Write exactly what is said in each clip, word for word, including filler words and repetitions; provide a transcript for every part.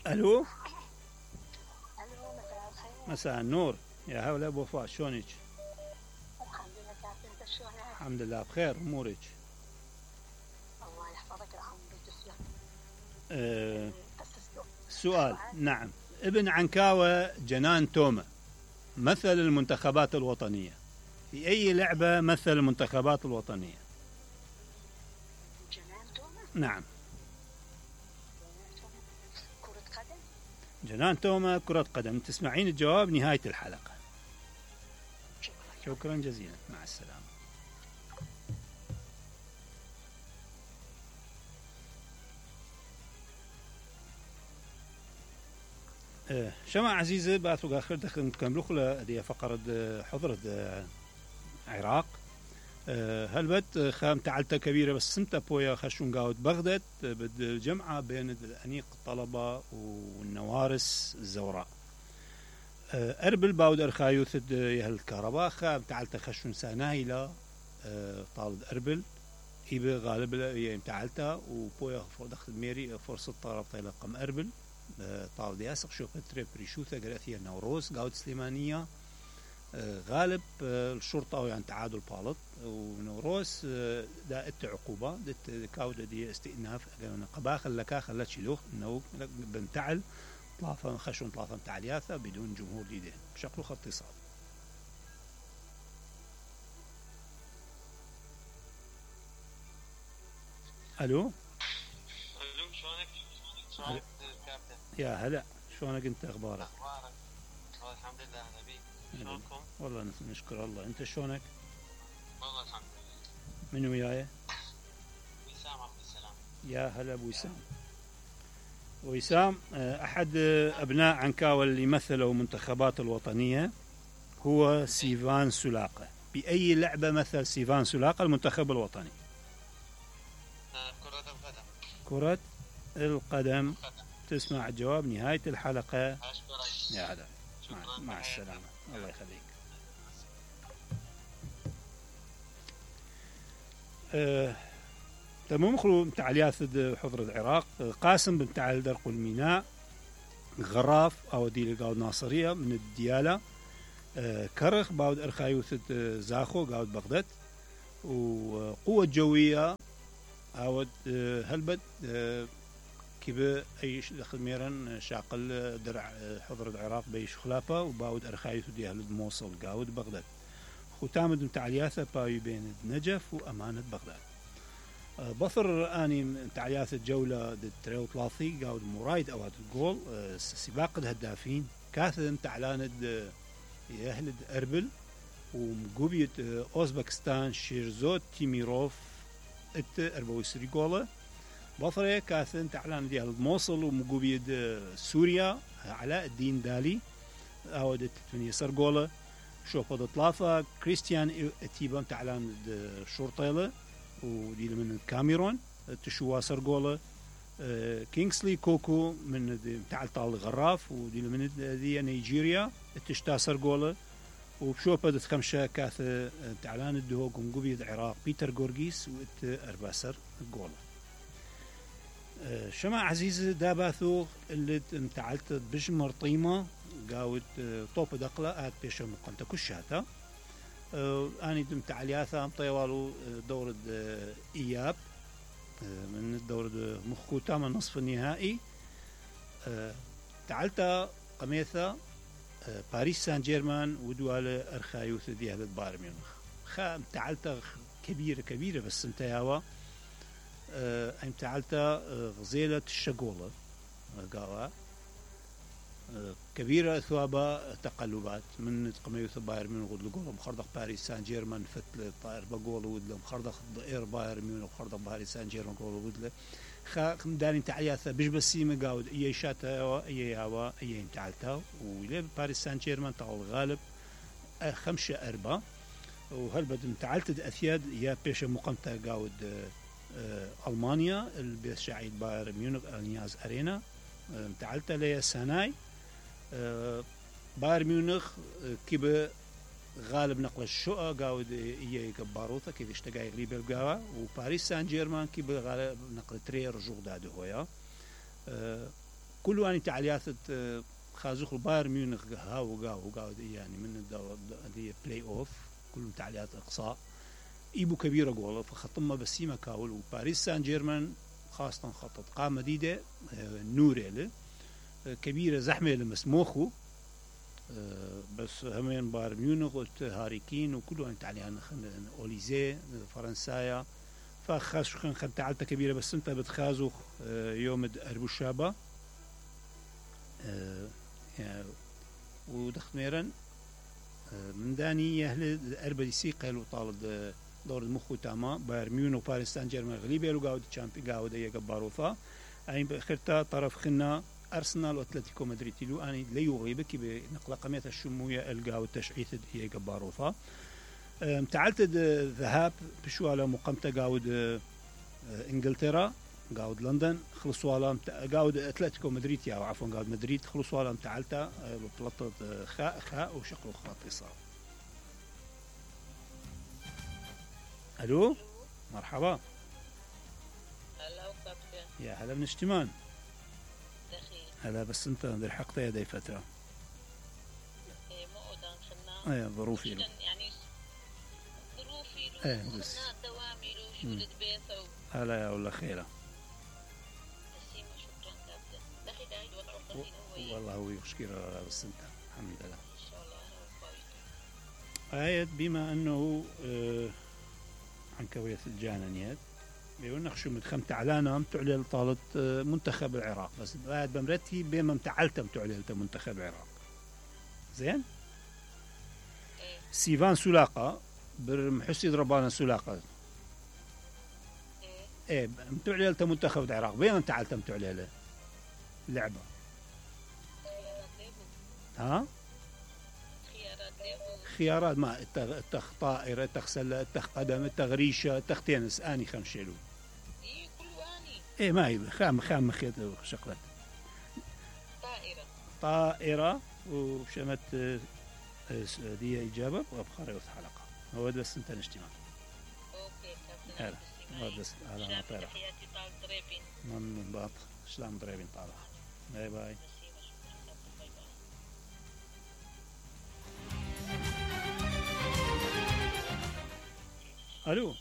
الو. الو، مساء الخير. مساء النور. يا هلا ابو وفاء، شلونك؟ الحمد لله، كيف انت شلونك؟ الحمد لله بخير. امورك؟ الله يحفظك العمر وتسلم. أه بس السؤال. سؤال. نعم. ابن عنكاوة جنان تومة مثل المنتخبات الوطنية، في أي لعبة مثل المنتخبات الوطنية؟ جنان تومة؟ نعم. كرة قدم؟ جنان تومة كرة قدم. تسمعين الجواب نهاية الحلقة. شكرا. شكرا جزيلا، مع السلامة. أه شمع عزيزة باتو آخر دخل كملوخلة دي فقرة حضرة عراق. أه هلبت خام تعلتها كبيرة بس سمتا بويا خشون قاود بغداد بد الجمعة بين الأنيق الطلبة والنوارس الزوراء. أه أربل باود أرخايوث يهل الكهرباء خام تعلتها خشون ساناهيلا. أه طالد أربل إيبه غالب يم تعلتها وبويا دخل ميري فرصة طلب طيلة قم أربل طاود ياسق شوف تريب ريشوثة قرأثية نوروز قاود سليمانية. غالب الشرطة يعني تعادل بالط ونوروز دا ات عقوبة دت كاودة دي استئناف قبا خلكا خلت شلوخ انه بنتعل طلافة خشون طلافة تعلياثة بدون جمهور ديده بشكل خط اتصال. الو. الو، شلونك؟ شلونك كابتن؟ يا هلا، شلونك انت؟ اخبارك؟ اخبارك؟ الحمد لله. اهلا بيك. شلونكم؟ والله نشكر الله. انت شلونك؟ والله الحمد لله. من وياي؟ وسام عبد السلام. يا هلا ابو وسام. وسام احد ابناء عنكاوة اللي مثلوا منتخبات الوطنية هو سيفان سلاقة. باي لعبة مثل سيفان سلاقة المنتخب الوطني؟ كرة القدم. كرة القدم. تسمع الجواب نهاية الحلقة. أشكرك. يا هلا، مع, مع السلامة. الله يخليك. أه تمام. خلو تعاليات حضر العراق. قاسم بن تعال درق الميناء غراف أو دي قاود ناصرية من الديالة. أه كرخ باود أرخايوث زاخو قاود بغداد. وقوة جوية عاود أه هلبت أه كيف أي دخل ميران شاقل درع حضر العراق بيش خلافة وباود أرخايث دي أهل الموصل قاود بغداد. ختامد متعلياثة باي بين نجف وأمانة بغداد. أه بصر أني متعلياثة جولة دي تريو ثلاثي قاود مرايد أواد الجول. أه سباق الهدافين كاثم تعلاند أهل أربل ومقوبية أوزبكستان شيرزوت تيميروف ات أربعة وعشرين جولة. بصرة كاثن تعلان ديال الموصل ومقوبيد سوريا علاء الدين دالي أودت ثمانية سرقولة. شوف هذا طلافة كريستيان اتيبان تعلان الشرطيلة وديل من الكاميرون تشوا سرقولة. كينغسلي كوكو من تعال طال غراف وديل من دي نيجيريا تشتا سرقولة. وبشوف هذا خمسة كاث تعلان الدهوق ومقوبيد العراق بيتر غورغيس وات أرباسر جولة. شمع عزيز داباثو اللي انتعلت بجمر طيمة قاوت طوب دقلة آت بيشا مقنطة كشاتا. آني دم تعلياثا مطيوالو دورة إياب من دورة مخكوتا من نصف النهائي. تعلتا قميثة باريس سان جيرمان ودوالة أرخايوث دي أهل بايرن ميونخ. خام تعلتا كبيرة كبيرة بس انتهاوا أه أيم تعالتا أه غزيلة الشقولة قاوة أه كبيرة ثوابا تقلبات من قميوث باير من غد لقولة مخرضق باريس سان جيرمان فتل طائر بقولة ودله مخرضق إير باير من مخرضق باريس سان جيرمان قولة ودله خا دارين تعلياثا بيش بسيمة قاود إيه شاتا إيه هوا إيه تعالتا وليه باريس سان جيرمان تعال غالب أه خمسة أربعة. وهل بدم تعالت أثياد يا بيش مقامتا قاود أه ألمانيا البيت شعيد باير ميونخ النياز أرينا. تعلت لي سناي باير ميونخ كيب غالب نقل الشقة قاود إيه كباروثة كيف اشتقى يغليب القاوة. وباريس سان جيرمان كيب غالب نقل تري رجوع داده هويا. كل اني تعليات خازوخ بايرن ميونخ هاو وقاو وقاو يعني من الدور دي بلاي اوف كلهم تعليات اقصاء ايبو كبيره جول فخطمه بسيمه كاول وباريس سان جيرمان خاصه خطط قامه جديده نوريله كبيره زحمه لمسموخو بس همين بايرن ميونخ هاري كين وكلهم تعليان اوليزي فرنسايا فخاش خن خن تعلته كبيره بس انت بتخازوخ يوم اربو شابه ودخت ميرن من داني يهل اربدي سي قالوا طالب دور المخ تاما بايرن ميونخ وباريس سان جيرمان غليبه لو قاود تشامبي قاود هي جباروفا اي باخرتا طرف خنا ارسنال واتلتيكو مدريد لو اني لا يغيبك بنقله قمه الشمويه القاود تشعيث هي جباروفا تعلت ذهاب بشو على مقامته قاود انجلترا قاود لندن خلصوا على قاود اتلتيكو مدريد يا عفوا قاود مدريد خلصوا على تعلته بطلطه خاء خاء وشقلوا خاطصه. الو مرحبا. هلا وكابتن. يا هلا من اشتمان. دخيل. هلا بس انت لحقت يدي فتره. ايه مو قدام خلنا. ايه ظروفي له. يعني ظروفي له. ايه بس. دوامي له شغل بيت او. هلا يا ولا خيره. بسيمة شكرا كابتن. دخيل دايد وضعه قليل هو. والله هو يشكر بس انت الحمد لله. ان شاء الله انا وفايته. آية بما انه آه عن كوية الجانانيات بيقولنا شو متخمت علينا متعلل طالت آه منتخب العراق بس بعد بمرتي بما متعلت متعلل منتخب العراق زين ايه. سيفان سلاقة برمحسي ضربانا سلاقة ايه ايه متعلل منتخب العراق بما متعلت متعلل لعبة ها خيارات ما اتخ طائرة اتخ سلة اتخ قدم اتخ ريشة اتخ تنس اني خمشيلو ايه كل اني ايه ما هي خام خام مخيط شغلات طائرة طائرة وشمت دي اجابة وابخار يوث حلقة هو بس انت نجتمع اوكي كابتن. هلا هذا بس على ما طيرة تحياتي طال دريبين. من باط شلام دريبين طالع باي باي. بسيمة شكرا كابتن. باي باي. الو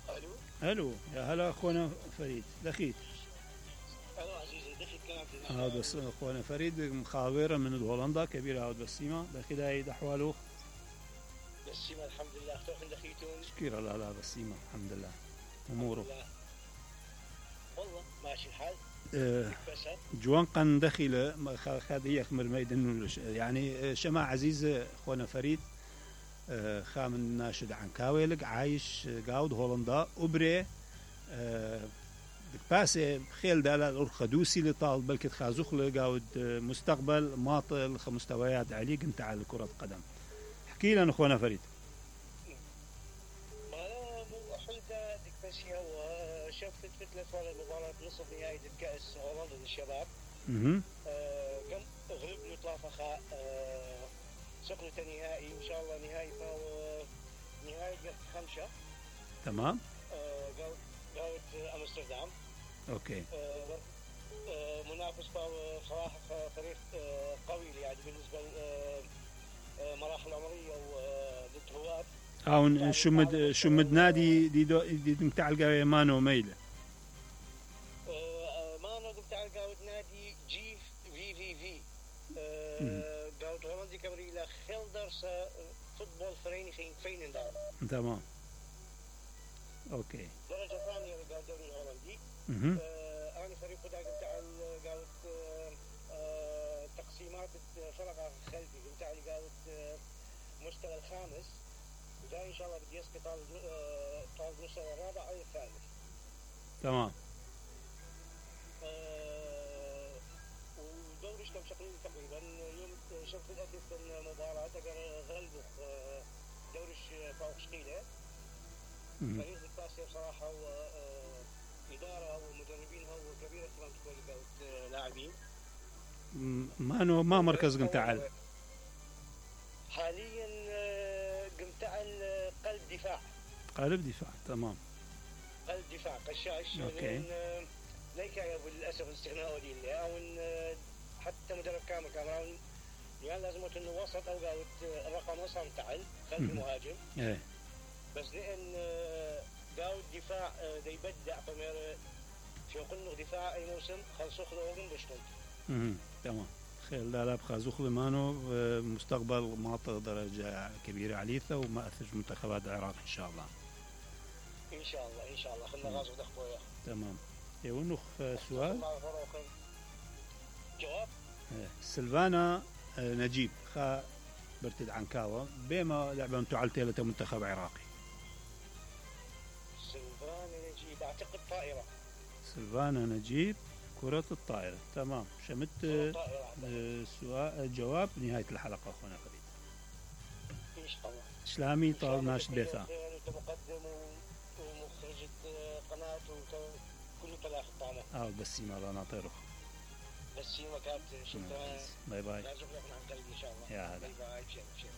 الو الو يا هلا اخونا فريد دخيت الو عزيزي دخل كلام هذا بس اخونا فريد مخابره من هولندا كبيره هذا بسيمه دخيل هاي احواله بسيمة الحمد لله اختوكم دخيتون شكرا لا لا بسيمه الحمد لله اموره والله ماشي الحال. أه جوان قن دخيله خذ هي خمر ميدن يعني شماعة عزيز اخونا فريد أه خام الناشد عن كاويلق عايش قاود هولندا أبري أه باسي خيل دالا الخدوسي لطال بلكي خازوخ لقاود مستقبل ماطل مستويات عليه قنت على كرة قدم احكي لنا اخونا فريد. ما مو حلقة ديك بسيها وشفت فتلة ولا مباراة نصف نهائي الكأس هولندا للشباب. اها قم غلبنا طلافة سقلة نهائي ان شاء الله نهائي فهو نهائي خمسة. تمام. قاوت امستردام. اوكي. آه آه منافس صراحه فريق آه قوي يعني بالنسبه للمراحل العمريه وضد هواب. او شمد شمد نادي دي دو دي متاع القاوي مانو ميله. آه مانو متاع القاوي نادي جي في في في. قاوت هولندي كمري لا خيلدرس فوتبول فرينيغing Veenendaal. تمام. اوكي. درجه ثانيه للدوري الهولندي. اها. انا فريق داك نتاع قاوت تقسيمات فرق خلفي نتاع اللي قاوت مستوى الخامس وجاي ان شاء الله بدي يسقط طال المستوى الرابع او الثالث. تمام. ودوري شلون شقلين تقريبا يوم شفت الاسيس المباراه تقدر غلبوا دوري فوق شقيله. فريق الكاسيه بصراحه واداره ومدربينها وكبير احترام تكون لاعبين. ما انه ما مركز قمتعل حاليا قمتعل قلب دفاع. قلب دفاع تمام. قلب دفاع قشاش. اوكي. ليك يا ابو للاسف الاستغناء ودي اللي او ان آه، حتى مدرب كامل كاميرون يعني لازم انه وسط او قاوت آه، الرقم وصل تعال خلف مم. المهاجم ايه بس لان آه، قاوت دفاع آه، دا يبدع بمير في قلنا دفاع اي موسم خلصوا خذوا من بشتنت مهم. تمام خير لا لا بخازوخ لمانو مستقبل مناطق درجة كبيرة عليثة وما أثج منتخبات العراق إن شاء الله. ان شاء الله ان شاء الله خلنا غازو دخبوا اياه تمام. يونخ سؤال جواب إيه. سلفانا آه، نجيب خا برتد عنكاوة بما لعبة متعلتة منتخب عراقي. سلفان نجيب اعتقد طائره سلفانا نجيب كرة الطائرة. تمام شمت طائره أعتقد. آه، سؤال جواب نهاية الحلقة أخونا خالد. ان شاء الله إسلامي طال ناش بيثا. انت مقدم ومخرجة قناة وكل طلاق الطعمة اه بس ما رانا طيرخ. بس هي وكانت شفتها باي باي لازم نروح عن قلبي ان شاء الله يا هلا. باي باي شيء شيء